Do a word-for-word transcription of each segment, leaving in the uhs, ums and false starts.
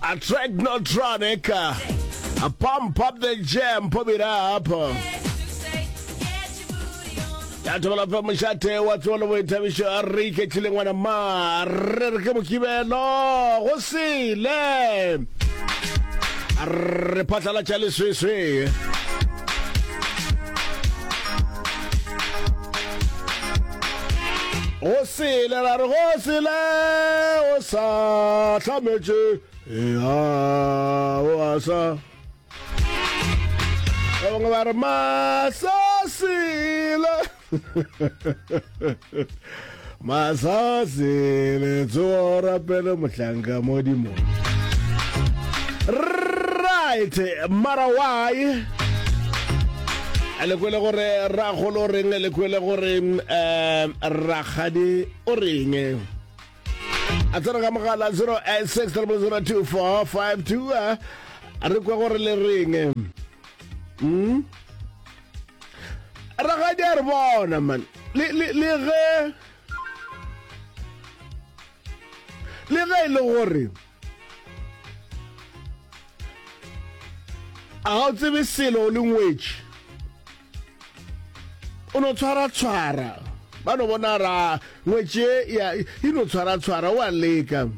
A Technotronic, a pump up the jam, pump it up. Ya thobela fa mošate wa tsebo le boithabišo a re iketlile ngwana ma re re ke mokibelo go sele re phatlalatša leswiswi go sele ra re go sele o sa hlametše ea o a sa ba bangwe ba re masasile masasile tsogo rapele mohlanka modimo right mara why le kwele gore ragolo o reng le kwele gore um rakgadi o reng a tsena ka mogala zero eight six triple zero two four five two re kwe gore le reng mm? Rakgadi a re bona man le le le ge le ge e le gore a ga o tsebe selo o le ngwetši o no tshwara tshwara ba no bona ra ngwetši e ya e no tshwara tshwara o a leka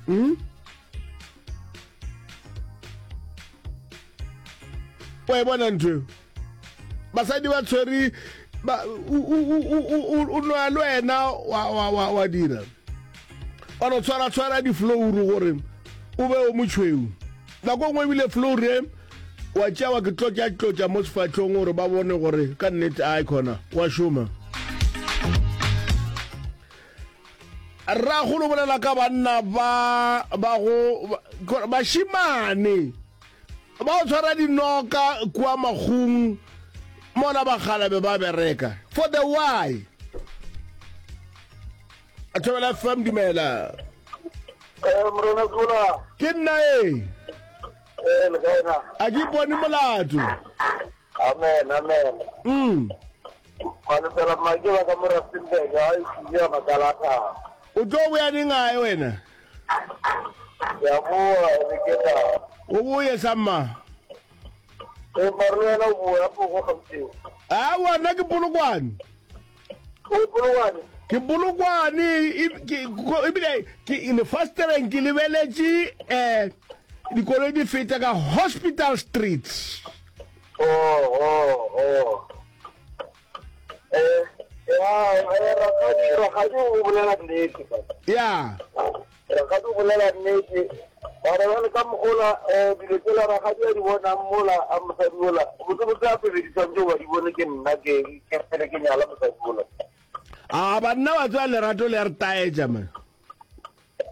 mm? wa e bona ntho eo basadi ba tshwere ba o nwa le wena wa wa wa wa dira wa no tshwara tshwara di-flouru gore o be o motšhweu nako nngwe ebile flouru e wa tšea wa ke tlotša tlotša mo sefahlong gore ba bone gore ka nnete a khona wa šoma rragolo bolela ka banna ba ba go bašimane ba go tshwara dinoka kua makgong mola bakgalabe ba bereka for the why a thobela fm dumela Eh, morena Zola. Ke nna e. Eh, le kae na? A ke ipone molato. Amen, amen. Mm. Malefela mma ke ba ka mo Rustenburg, ga e ya makala a thaba. O tlo boya neng gae wena? Ke a boa, be ke tla. O boye sa mma. E mare le wena o boya poko Gauteng. Aowa nna ke Polokwane. O Polokwane? Ke Polokwane ebile ke lefastereng ke lebeletše um dikoloi di feta ka Hospital Street. Oh, oh, oh. Eh, ya, eh, rakgadi, rakgadi o bolela nnete. Ya. Rakgadi o bolela nnete. Bara bjale ka mogola um dilo tsela rakgadi a di bonang mola a mosadi ola, botsebotse a pele di swantse ba di bone ke nna ke ke pele ke nyala mosadi ola. A banna ba tseba lerato le a re taetša man.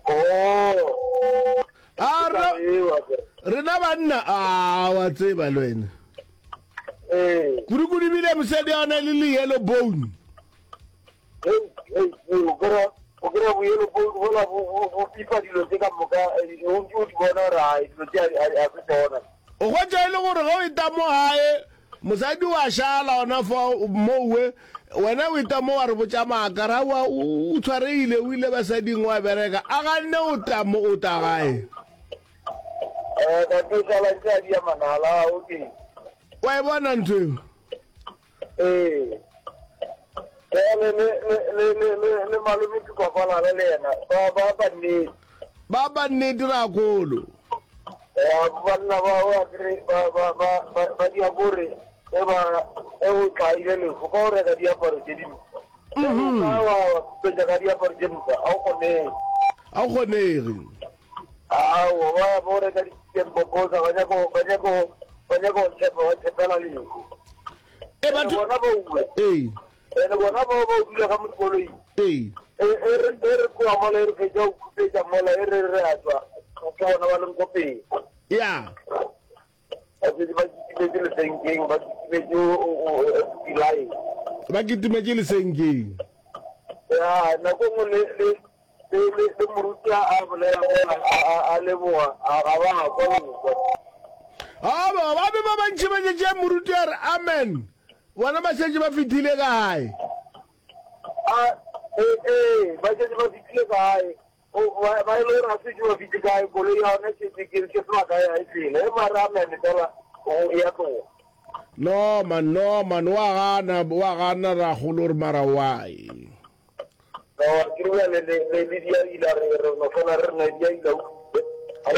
Oh. A rena banna a wa tseba le wena. Ee. Kudu-kudu ebile mosadi a ona le le yellow bone. Hei, hei, hei, o kry-a o kry-a bo yellow bone bola bo bo bo pipa dilo tse ka moka eh, o ntse o di bona gore ai dilo tse a a se tsona. O hwetša e le gore ge o eta mo gae mosadi wa šala gona fa mowe wena o eta mo wa re botša maaka ra wa o tshwaregile o ile basading wa bereka a ganne o tla mo o tla gae. Eh, ka ke šala ntse a dia manala, okay. Wa e bona ntho eo? Ee. Bjale le le le le le le malome Tukwakwalala le yena ba ba ba nnete. Ba ba nnete rakgolo. Ya banna ba ba kry ba ba ba ba ba dia kore e ba e o tlaile lefu ka o reka diaparo tše dimpsha. Mm -hmm. Wa wa khupetša ka diaparo tše mpsha a o kgonege. A o kgonege. Aowa ba ba o reka dikempoposa ba nyako ba nyako ba nyako tshepa ba tshepela lehu. E batho bona ba uwe. Ee. Ene bona ba ba dula ka mo dikoloing. Ee. E e re e re tloga mola e re fetša go khupetša mola e re re a tswa ke bona ba leng ko pele. Ya. Ba šetše ba kitimetše lesenkeng ba kitimetše dilaeng. Ba kitimetše lesenkeng. Ya nako nngwe le le Le, le, le moruti a, a bolela mola, a, a, a leboga, a ga ba kwa le go kwa. A ba, ba be ba bantši ba tšetše moruti a re amen, bona ba šetše ba fethile kae? A, ee, ee, ba šetše ba fethile kae? O- ba ba e le gore ga se ke ba fitlhe kae koloi ya yone ke ke ke ke sebaka ya e tlele e mare a mene fela o ya tloga No man, no man, wa gana, wa gana ragolo gore mara why? No, ke re le le le le dia ila re re no fela re ne dia ila a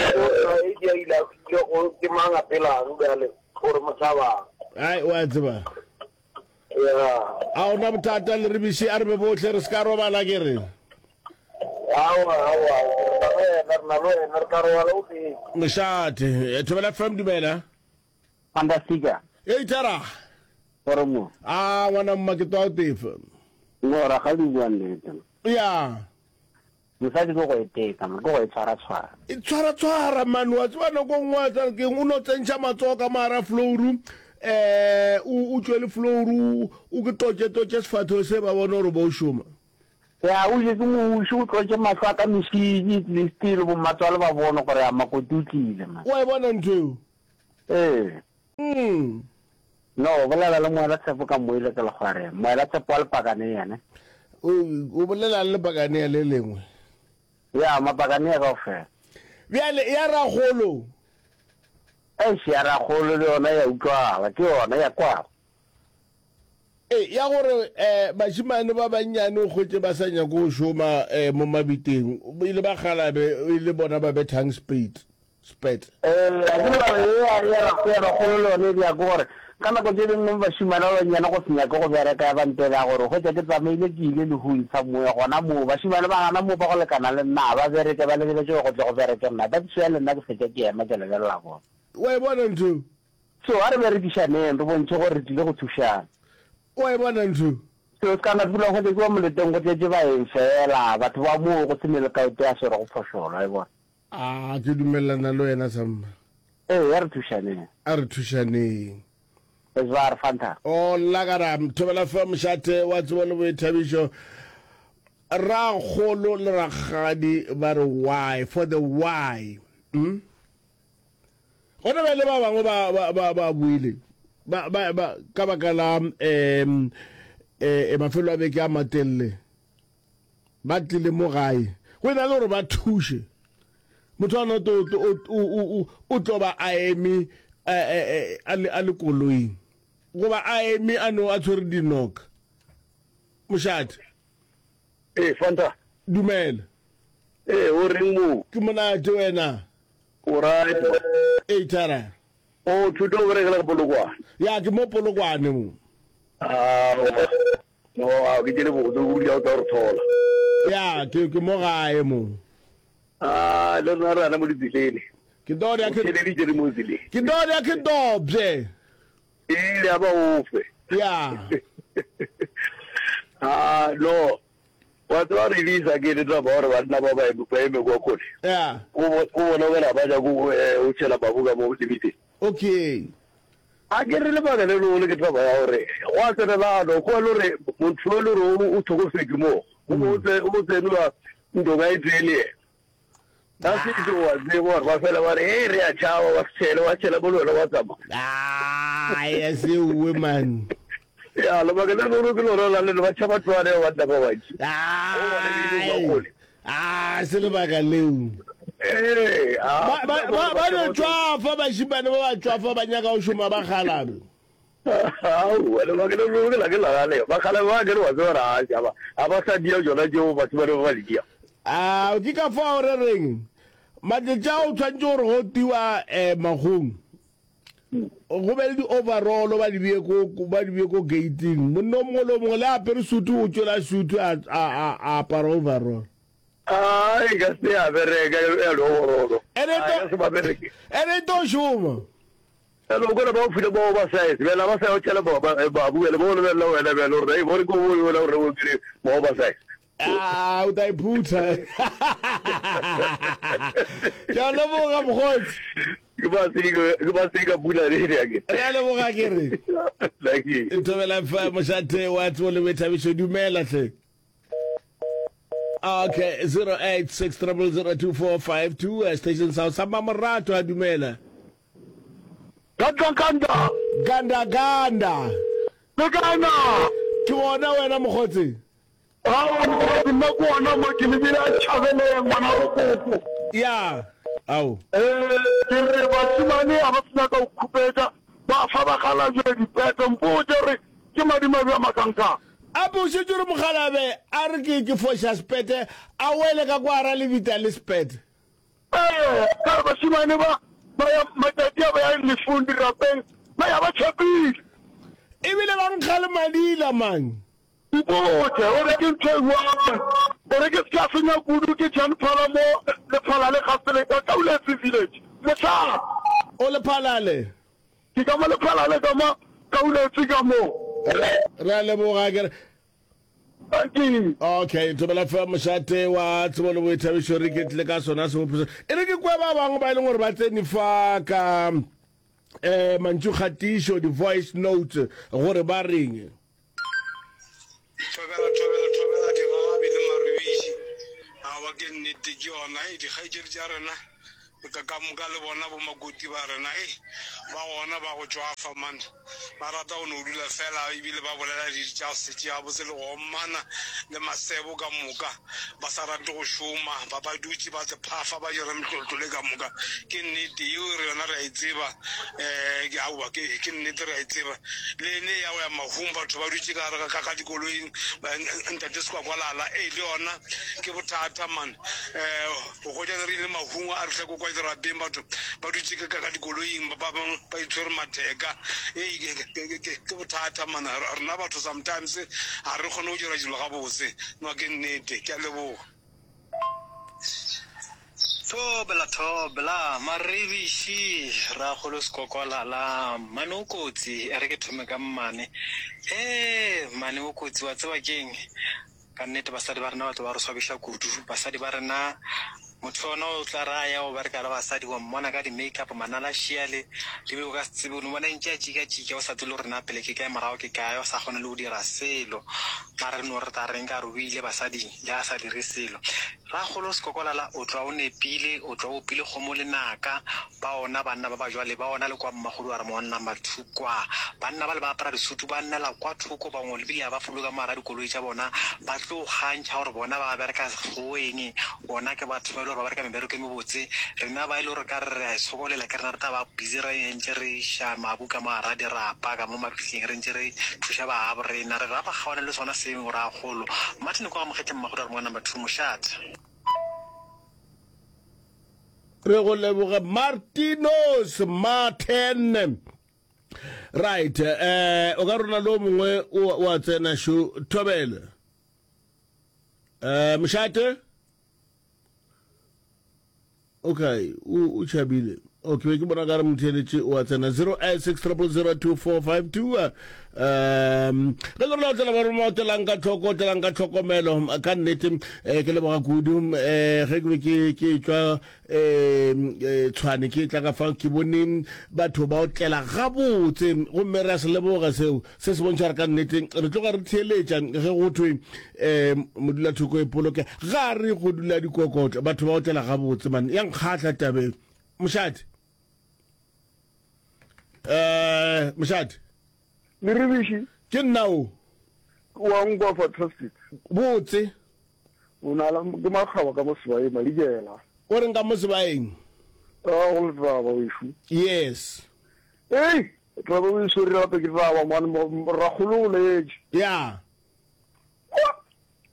e dia ila ke go ke mang a pelang bjale gore motšhaba Ai, wa tseba. ya A ona bothata le re biše a re be bohle re se ka robala ke re. awa awa re na le wena re na le wena re tla robala o teng Mošate, eh, Thobela FM dumela. Fantastica. Ei tara. Gore mo. A ngwana mma ke twa o tefa. No ra ga di bua nnete. Ya. Mosadi ke go e teka, man, ke go e tshwara tshwara. E tshwara tshwara man wa tseba nako nngwe wa tseba ke o no tsentšha matsogo ka mogara flouru eh o o tšwele flouru o ke tlotše tlotše sefahlego se ba bone gore bo o šoma. Ya o je ke moši o tlotše mahlo a ka mešidi at least le bommatswale ba bone gore ya makoti o tlile man. Wa e bona ntho eo? Ee. Mm. No, bolela le moela tshepo ka moile ke lekgwareng. Moela tshepo wa lepakane yena. O o bolela le lepakane le lengwe. Ya, mapakane ya kaofela. Bjale ya ragolo. Eish, ya ragolo le yona ya utlwala, ke yona ya kwala. E, ya gore eh bašemane ba bannyane o hwetše ba sa nyake go šoma eh mo mabiteng, e le bakgalabe e le bona ba bethang spade, spet. Eh, a ke re ye ya ya ya ragolo le yone e dira ke gore ka nako tše dingwe bašemane ba bannyane go se nyake go bereka ya ba ntela gore hwetša ke tsamaile ke ile lehung somewhere gona moo bašemane ba gana moo ba go lekana le nna ga ba bereke ba lebeletše gore go tle go bereke nna that's why le nna ke fetša ke ema ke lebelela bona. Wa e bona ntho eo? So a re berekišaneng re bontšhe gore re tlile go thušana. Wa e bona ntho eo? So se ka na dula go tletše wa moleteng go tletše baeng fela batho ba moo go se ne le kaote ya swere go phošolwa wa e bona. A ke dumelelana le wena samma. Ee, a re thušaneng. A re thušaneng. Esbar Fanta. O lakara Thobela FM mošate wa tsebo le boithabišo. Rakgolo le rakgadi ba re why for the why. Mm? Gona bjale ba bangwe ba ba ba ba buile ba ba ba ka baka la um eh mafelo a beke a matelele ba tlile mo gae go ena le gore ba thuše motho a no to o o tlo ba a eme a le a le koloing goba a eme a no a tshwere dinoka mošate. Ee, Fanta. Dumela. Ee, o reng mo? Ke monate wena. O right. Ee, thara. O thuto o berekela go Polokwane. Ya ke mo Polokwane mo. Ah, no, a ke tšele botse o dula o tla re thola. Ya, ke ke mo gae mo. Ah, le rena re ana mo ditseleng. Ke do ya ke theleditše re mo tseleng. Ke do ya ke dobje. Ile ya ba ofe. Ya. Ah, no. Wa tseba release ke le tla ba gore banna ba ba ba eme kwa kgole. Ya. O bona o ba ja go o tšhela babu ka mo lebiteng. Okay. A ke re lebaka le lengwe ke taba ya gore go a tsenelana go le gore motho e le gore o tlhokofetse mo o tse o tsenwa ntoka e tee le yena. Ka setšo wa tseba gore ba fela ba re e re a tšhaba wa tšhele wa tšhela mo le wena wa tsamaya. Ah, ya sewe man. Ya lebaka le lengwe ke lona la le ba tšhaba tloane ba banna ba bantši. Ah, se lebaka leo. Ee, Ba ba ba ba no tšwafa bašimane ba ba tšwafa ba nyaka go šoma ba kgalabe. Aowa, lebaka le lengwe ke la ke la gale. Bakgalabe ba ke re wa tseba gore a tšhaba ga ba sa dia tšona tšeo bašimane ba ba di dia. Ah, ke ka fao re reng matšatši a o tshwanetse gore go tiwa um magong go be le di-overall ba di bee ko ba di bee ko gating monna o mongwe le o mongwe le apere sutu o tšwela sutu a a a apara overall. A e ka se ya bereka ya le overall. Ene A ka se ba bereke. ene e tlo šoma. Ene o kone ba o file ba oversize bjale ba sa yo tšhela ba ba ba bjale ba o lebelela wena bjale gore ei bore ko bo wena gore o dire ba oversize. Ah, o tla iphutha. Ke a leboga mokgotsi. Ke ba se ke ba se ka pula re re ke. Re a leboga ke re. Thank you. Thobela fa mošate wa tsebo le boithabišo dumela hle. Okay, zero eight six triple zero two four five two uh, station sa sa Mamorato a dumela. Ganda ganda. Ganda ganda. Le kae na? Ke bona wena mokgotsi. Aowa mokgotsi nna ke gona mo ke lebile a tšhabeleng ngwana bo koko. Ya, ao. Ee, ke re bašemane ga ba sa nyaka go khupetša, ba fa bakgalabje dipete. Mpotše gore ke madimabe a makankang. Ape o šetše o re mokgalabje a re ke ke foša sepete a wele ka kwa gara lebita le sepete. Ee, ka re bašemane ba ba ya matšatši a ba ya lefung dirapeng ba ya ba tšhapile. Ebile ba nkga le madila mang. Mpotše o re ke ntho e bjang gore ke se ka senya kudu ke Jan Phala mo Lephalale ga Seleka ka Uletsi Village. Mohlala. O Lephalale? Ke ka mo Lephalale ka mo Kauletsi ka mo. Re a leboga ke re. Dankie. Okay, Thobela F M mošate wa tsebo le boithabišo re iketlile ka sona sebopho se. E re ke kwe ba bangwe ba e leng gore ba tsene fa ka eh mantšu kgatišo di-voice notes gore ba reng. Thobela, thobela, thobela, digagabi le marubiši. Aowa, ke nnete, ke yona. Hei, dikgaetšedi tša rena, ka, ka moka le bona bomakoti ba rena, hei, ba gona ba go tšwafa, man. Ba rata go no dula feela ebile ba bolela dilo tša go se tšee gabotse le go omana le masebo ka moka, ba sa rate go šoma, ba, ba dutše ba se phafa, ba dira mehlolotlo le ka moka. Ke nnete, yeo re yona re a e tseba. Um ke, aowa, ke, ke nnete re a e tseba. Le ene ya go ya mahung, batho ba dutše ka gare ga, ga dikoloing, Ntate Sekwakwalala, ee, le yona ke bothata man. Um go hwetša re ile mahung a re fihla ko kwa dirapeng, batho ba dutše ka, ka dikoloing, ba bangwe ba itshwere matheka. Ee, ke, ke, ke, ke, ke bothata man. Rena batho sometimes ga re kgone go dira dilo gabotse. No, ke nnete. Ke a leboga. Thobela, thobela, Maribiši, Rakgolo Sekokwalala, Mmane o kotsi, e re ke thome ka mmane. Hee, mmane o kotsi, wa tseba ke'ng? Ka nnete basadi ba rena ba tlo ba re swabiša kudu. Basadi ba rena, motho yona o tla re a ya go bereka le basadi, wa mmona ka di-make-up, manala šiale, le bile o ka se tsebe, o no bona ntše a tšika-tšika, o sa tsebe le gore na pele ke kae, morago ke kae, o sa kgone le go dira selo. Mara re no re tla reng ka re o ile basading, le a sa dire selo. Rakgolo Sekokolala o tloga o nepile, o tloga o opile kgomo lenaka. Ba ona banna ba ba jwale, ba ona le kwa Mmakgodu a re mo number two kwa. Banna bale ba apara disutu ba nnela kwa thoko, bangwe le bile ga ba fologe ka mo gara dikoloi tša bona, ba tlo kgantšha gore bona ba bereka sekgoweng, bona ke batho ba e le gore ba bereka mebereko e mebotse. Rena ba e le gore ka re re a e sokolela ke rena re tla ba busy re ntše re iša mabu ka mo gara dirapa ka mo mabitleng re ntše re thuša ba gabo rena. Re rapa kgawane le sona seo Rakgolo. Martin kwa Mogetleng Mmakgodu a re mo number two mošate. Re go leboge Martinos Martin. Right, eh o ka rona lo mongwe o a tsena sho thobela. Eh mošate? Okay, o o tšhabile. Okay, ke bona ka re motheeletše o a tsena zero eight six triple zero two four five two. Um, ge le rona o tsela ba roma o tlelang ka tlhoko, o tlelang ka tlhokomelo ka nnete eh, ke leboga kudu eh, ge ke be ke ke tšwa eh, eh, Tshwane ke tla ka fa ke bone batho ba o tlela gabotse gomme re a se leboga seo. Se se bontšha gore ka nnete re tloga re theeletša ge go thwe um modulathoko e poloke ga re go dula dikokotlo. Batho ba otlela gabotse man. Ya nkgahla tabe. Mošate. Um mošate. Leribiši. Ke nna o. Wa nkwa fantastic. Botse. O na le ke makgaba ka mo sebaeng madikela. O reng ka mo sebaeng? A go le taba wešo. Yes. Ei, taba o e swere gape ke taba man, rakgolo o letše. Ya.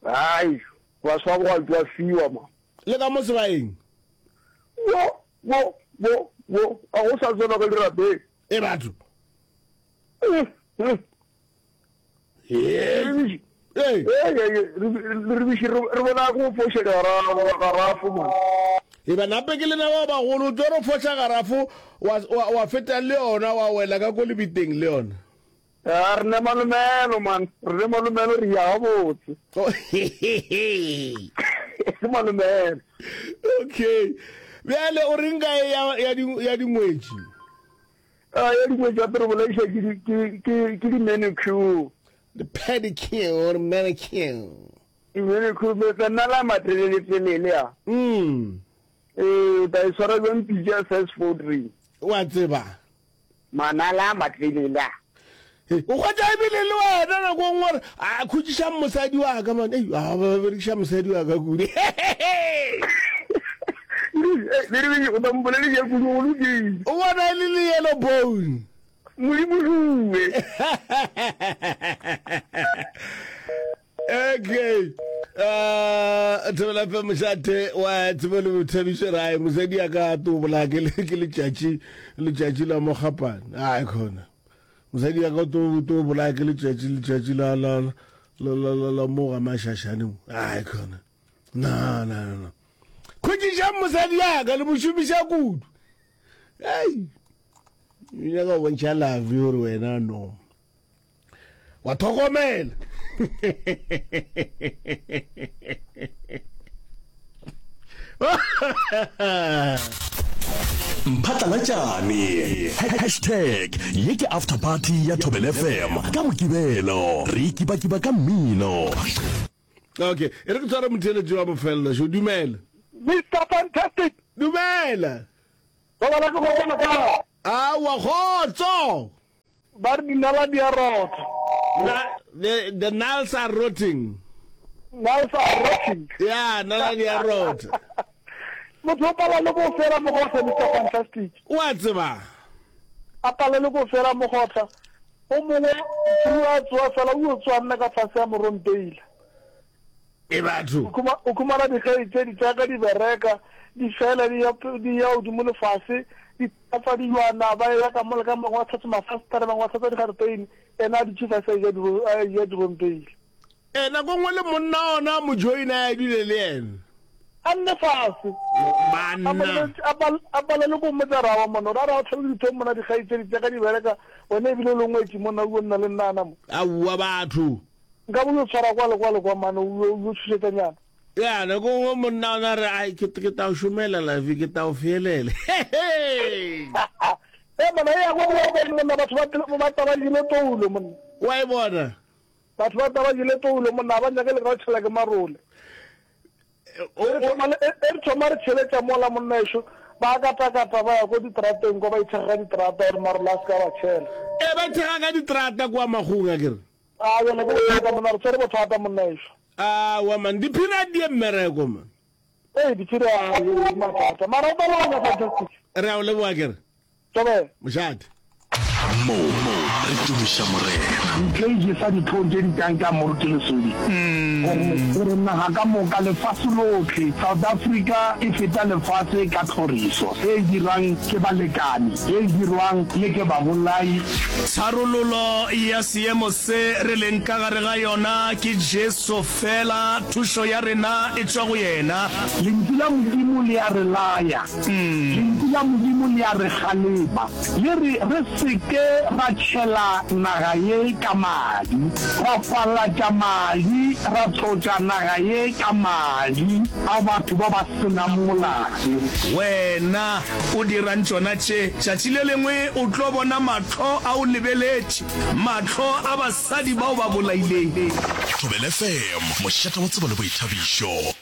Ai, baswa ba go a fiwa man. Le ka mo sebaeng? Wo, wo, wo, wo, a go sa tsenwa ka dirapeng. E batho. Eh, eh. Ee. Ee, re re bona go foša garafo man. E ba nape ke lena ba bagolo o tlo re foša garafo wa, wa, wa feta le yona wa wela ka ko lebiteng le yona. A re ne malomelo man, re ne malomelo re ya gabotse. Ke malomelo. Okay. Bjale o reng ka e ya, ya, di, ya dingwetši? A ya dingwetši gape re bolaiša ke di, ke, ke, ke di-manicure. The pedicure or manicure. Di-manicure, tsa nna la matelele-telele a. Mm. Ee, o tla e swara bjang pitša size four three. Wa tseba. Manala a matelele a. O hwetša ebile le wena nako nngwe gore a khutšišang mosadi wa ka man. Ei, a ba berekiša mosadi wa ka kudu. O tla mpolediša kudu go lokile. O bona e le le yellow bone. Modimo šuwe. Okay. Uh, Thobela F M mošate wa tsebo le boithabišo rae mosadi a ka to bolaya ke le- ke letšatši letšatši la mokgapane ai khona mosadi a ka to to bolaya ke letšatši letšatši la la la la la la mo ga mašašane mo ai khona na na na na khutšišang mosadi ya ka le mo šomiša kudu ei nyaka go bontšha love gore wena no wa tlhokomela. Mphatlalatšane Hashtag ye ke after party ya Thobela F M ka Mokibelo re ikibakiba ka mmino. Okay, e re ke tshware motheeletši wa bofelelo šo. Dumela. Mister Fantastic. Dumela. Robala ke go bona ka. Aowa, kgotso. Ba re dinala di a rotha. Na, the, the nals are rotting. Nals are rotting. Yeah, nala di a rotha. Motho o pala le ko fela mogotla, Mister Fantastic. O a tseba. A pala le ko fela mogotla. O mongwe, through a tsoa fela, o yo tsoa nna ka fase ya morompeila. E batho. O khuma, o khumana dikgaetšedi tša ka di bereka, di fela di ya, di ya godimo le fase, di hlatswa dilwana, ba eya ka mola ka bangwe ba hlatswa mafastere, bangwe ba hlatswa digareteine, yena a dutše fase a eja diro, a eja dirompeile. E, nako nngwe le monna ona a mo joina a dule le yena. A nne fase. Banna. A palelwe, a pal-, a palelwe ke go mmotsa rawa monna, gore a re a o tlhabile dithong monna, dikgaetšedi tša ka di bereka, wena ebile o le ngwetši monna, o yo nna le nna ana mo. Aowa batho. Nka bo yo tshwara kwa le kwa le kwa mane, o yo, o yo tšhošetša nyana. Ya, nako nngwe monna ona re, ai, ke, ke tla o šomela, Lavi, ke tla o feelela. He-he! Ee, monna, e ya go boa gore monna, batho ba, ba tla ba jele toulo, monna. Wa e bona? Batho ba tla ba jele toulo, monna, ga ba nyake le ka go tšhela ke marole. O, E re o, thoma le, e, e re thoma re tšheletša mola, monna ešo, ba katakata ba ya ko diterateng kwa, ba ithekga ka diterata gore marole a se ka ba tšhela. E, ba ithekga ka diterata kua Makgong, a ke re. A, bjale ke bothata, monna, re tshwere bothata, monna ešo. Aowa man, diphiri a di ye mmereko man. Ee, diphiri a di ye mathata. Mara o tla leboga Fantastic. Re a o leboga ke re. Thobela. Mošate. Mo re tumiša Morena. Ntle e jesa dihlong tše di kang tša Moruti Lesodi. Gore, gore naga ka moka, lefase lohle, South Africa e feta lefase ka tlhoriso e e dirwang ke balekani, ye e dirwang le ke babolai. Tharololo ya seemo se re leng ka gare ga yona ke Jesu fela, thušo ya rena e tšwa go yena. Lentšu la Modimo le a re laya. Lentšu la Modimo le a re kgalema. Le re re se ke ra tšhela naga ye ka madi, ra falatša madi, ra tlotša naga ye ka madi a batho ba ba se nang molato. Wena o dirang tšona tše? Tšatši le lengwe o tlo bona mahlo a o lebeletše, mahlo a basadi bao ba bolaileng. Thobela F M, mošate wa tsebo le boithabišo.